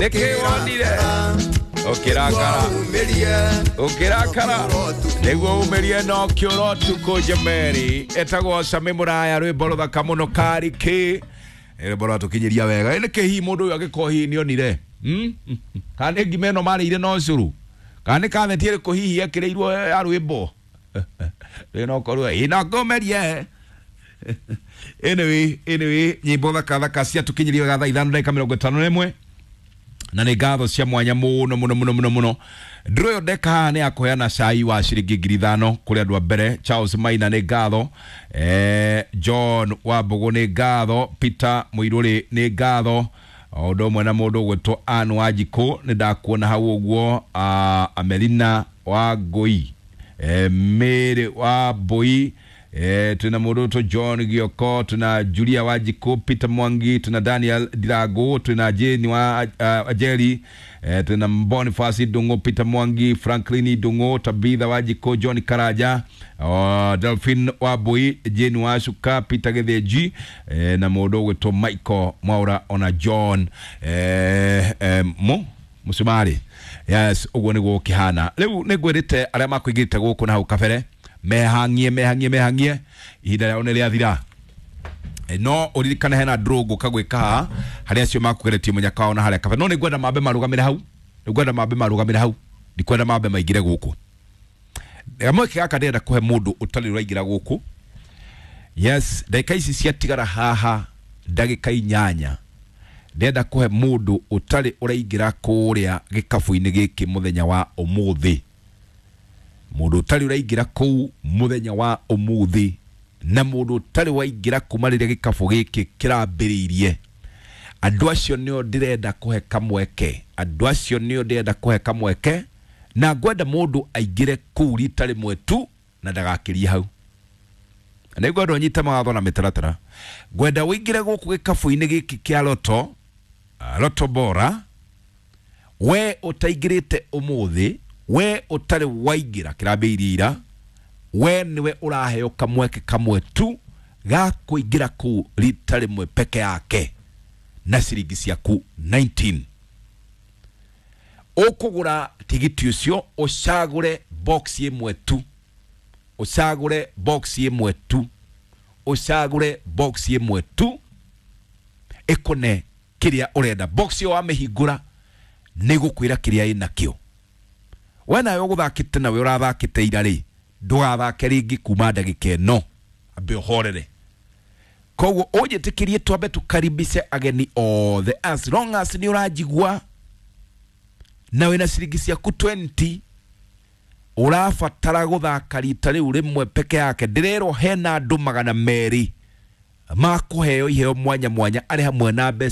Nĩkĩ wonire ũkĩrakara ũkĩrakara nĩguo umĩrie no kĩũra ũtukũ njemeri etagwo Sami Mũraya rwĩmbo rũthaka mũno karikĩ rwĩmbo rwatũkinyĩria wega. Nĩkĩ hihi mũndũ ũyũ angĩkorwo hihi nĩonire? Kana nĩ ngima ĩno marĩire no cũrũ, kana nĩ katheti ĩrĩkũ hihi ekĩrĩirwo ya rwĩmbo rĩ no korwo ĩ no ngũmerie. Anyway, nyĩmbo thaka thaka ciatũkinyĩria wega thaa 5:51, na nĩ ngatho cia mwanya mũno mũno mũno mũno mũno. Ndũrũ ĩyo ndeka haha nĩ ya kũheana cai wa ciringi 5,000 kũrĩ andũ a mbere. Charles Maina nĩ ngatho, John Wambũgũ nĩ ngatho, Peter Mũirũrĩ nĩ ngatho, o ũndũ ũmwe na mũndũ ũgwĩtwo Ann Wanjikũ, nĩ ndakuona hau ũguo, Amelina wa Ngũi, Mary wa Mbũi, tuna mũndũ ũgwĩtwo John Gioko, tuna Julia Wanjikũ, Peter Mwangi, tuna Daniel Ndirangu, tuna Jane wa Ajeri, tuna Boniface Ndung'u, Peter Mwangi, Franklin Ndung'u, Tabitha Wanjikũ, John Karaja, Delphine Wambui, Jane Wacuka, Peter Gĩthĩnji, na mũndũ ũgwĩtwo Michael Mwaura ona John Mũcumarĩ. Yes, ũguo nĩguo ũkĩhana. Rĩu nĩ ngwĩrĩte arĩa makũingĩrĩte gũkũ na hau kabere mehang'ie mehang'ie mehang'ie, ihinda rĩao nĩ rĩathira. No ũririkane hena draw ngũka gwĩka haha harĩa acio makũgeretie mũnyaka wao na harĩa kabere, no nĩ ngwenda mambe marũgamĩre hau, nĩ ngwenda mambe marũgamĩre hau, ndikwenda mambe maingĩre gũkũ. Kamweke gaka ndĩrenda kũhe mũndũ ũtarĩ ũraingĩra gũkũ. Yes, ndagĩka ici ciatigara haha ndagĩka 8, ndĩrenda kũhe mũndũ ũtarĩ ũraingĩra kũrĩa gĩkabu-inĩ gĩkĩ mũthenya wa ũmũthĩ, mũndũ ũtarĩ ũraingĩra kũu mũthenya wa ũmũthĩ, na mũndũ ũtarĩ waingĩra kuma rĩrĩa gĩkabu gĩkĩ kĩrambĩrĩirie. Andũ acio nĩo ndĩrenda kũhe kamweke, andũ acio nĩo ndĩrenda kũhe kamweke, na ngwenda mũndũ aingĩre kũu rita rĩmwe tu na ndagakĩrie hau. Na nĩngwenda ũnyite mawatho na mĩtaratara. Ngwenda ũingĩre gũkũ gĩkabu-inĩ gĩkĩ kĩa Loto, Loto Bora, we ũtaingĩrĩte ũmũthĩ, we ũtarĩ waingĩra kĩrambĩrĩirie ira, we nĩwe ũraheo kamweke kamwe tu ga kũingĩra kũu rita rĩmwe peke yake na ciringi ciaku 19. Ũkũgũra tigiti ũcio ũcagũre box ĩmwe tu, ũcagũre box ĩmwe tu, ũcagũre box ĩmwe tu ĩkũne kĩrĩa ũrenda. Box ĩyo wamĩhingũra nĩ gũkwĩra kĩrĩa ĩnakĩo. We nawe ũgũthakĩte nawe ũrathakĩte ira rĩ, ndũgathake rĩngĩ kuma ndagĩka ĩno, ambe ũhorere. Koguo ũnjĩtĩkĩrie twambe tũkaribice ageni othe, as long as nĩ ũranjigua na wĩna ciringi ciaku 20, ũrabatara gũthaka rita rĩu rĩmwe peke yake. Ndĩrerwo hena andũ 200 makũheo iheo mwanya mwanya arĩ hamwe na mbeca.